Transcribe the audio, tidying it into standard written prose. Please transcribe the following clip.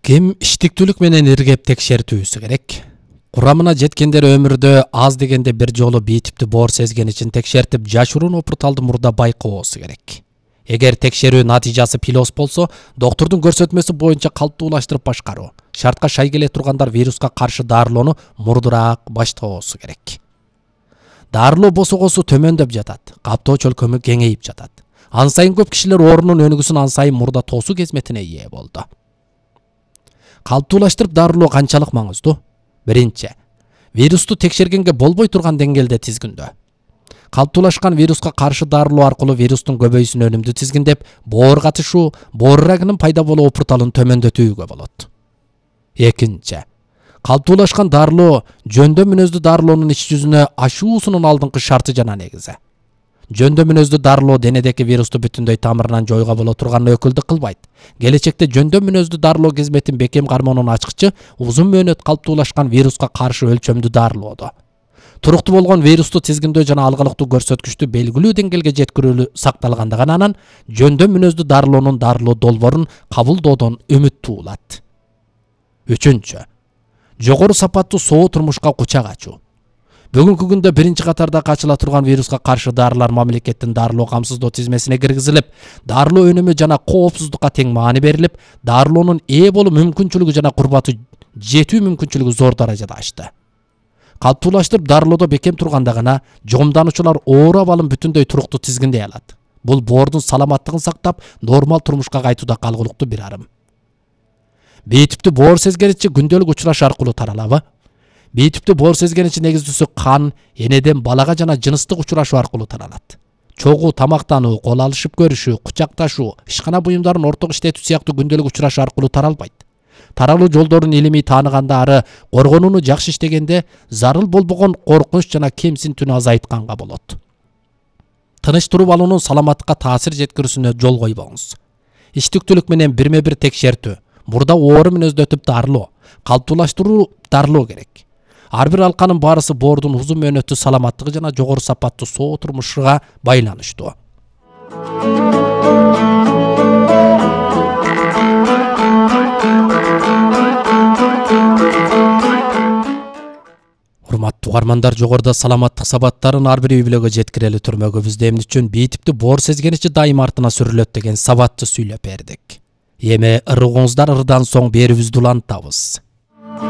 Ким иштиктүүлүк менен иргеп текшертүүсү керек? Курамына жеткендер өмүрдө аз дегенде бир жолу бий типтүү боор сезген үчүн текшертип, жашыруун опурталды мурда байкоосу керек. Эгер текшерүү натыйжасы пилос болсо, доктурдун көрсөтмөсү боюнча калыптуулаштырып башкаруу, шартка шай келе тургандар вируска каршы дарылоону мурдураак баштоосу керек. Дарылоо босогосу төмөндөп жатат, каптоо чөлкөмү кеңейип жатат. Ан сайын көп кишилер оорунун өнүгүүсүн ан сайын мурда тоосуу кезметине ээ болду. Калыптуулаштырып дарылоо канчалык маңыздуу? Биринчи, вирусту текшергенге болбой турган деңгээлде тизгиндөө. Калыптуулашкан вируска каршы дарылоо аркылуу вирустун көбөйүүсүн өнүмдүү тизгиндеп, боор катышуу, боор рагынын пайда болуу опурталын төмөндөтүүгө болот. Экинчи, калыптуулашкан дарылоо жөндө мүнөздүү дарылоонун иш жүзүнө ашуусунун алдыңкы шарты жана негизи. Жөндө мүнөздүү дарылоо денедеки вирусту бүтүндөй тамырынан жоюуга боло турган өкүлдүк кылбайт. Келечекте жөндө мүнөздүү дарылоо кызметін бекем кармоонун ачкычы узун мөөнөт калыптуулашкан вируска каршы өлчөмдүү дарылоодо. Туруктуу болгон вирусту тизгиндөө жана алгалыктуу көрсөткүчтү белгилүү деңгээлге жеткирүү сакталгандыгынан анан жөндө мүнөздүү дарылоонун дарылоо долбоорун кабылдоодон үмүт туулат. Үчүнчү, жогору сапаттуу соо турмушка кучак ачуу. Бүгүнкү күндө биринчи катарда качыла турган вируска каршы дарылар мамлекеттин дарылоо камсыздоо тизмесине киргизилип, дарылоо өнүмү жана коопсуздукка тең маани берилип, дарылоонун ээ болуу мүмкүнчүлүгү жана курбаты жетүү мүмкүнчүлүгү зор даражада ашты. Калыптуулаштырып дарылоодо бекем турганда гана жомдануучулар оор абалын бүтүндөй туруктуу тизгиндей алат. Бул боордун саламаттыгын сактап, нормал турмушка кайтууда калгылыктуу бир арым. Бий типтүү боор сезгеничи күндөлүк учураш аркылуу таралабы? Бий типтүү боор сезгеничи негиздүүсү кан, энеден балага жана жыныстык учурашуу аркылуу таралат. Чогуу тамактануу, кол алышып көрүшүү, кучакташуу, ишкана буюмдарын ортого иштетүү сыяктуу күндөлүк учурашуу аркылуу таралбайт. Таралуу жолдорун илимий тааныганда ары коргонууну жакшы иштегенде зарыл болбогон коркунуч жана кемсинтүүнү азайтканга болот. Тыныч туруп алуунун саламаттыкка таасир жеткирүүсүнө жол койбоңуз. Иштиктүүлүк менен бирме-бир текшертүү, мурда оору мүнөздөтүп дарылоо, калыптуулаштыруу дарылоо керек. Ар бир алканын баарысы боордун узун мөөнөттүү саламаттыгы жана жогору сапаттуу соо турмушуга байланыштуу. Урматтуу угармандар, жогоруда саламаттык сабаттарын ар бир үй бүлөгө жеткирели түрмөгүбүздө эмне үчүн бий типтүү боор сезгеничи дайыма артына сүрүлөт деген сабатты сүйлөп бердик. Эми ырыгыңыздар ырдан соң берүүбүздү улантабыз.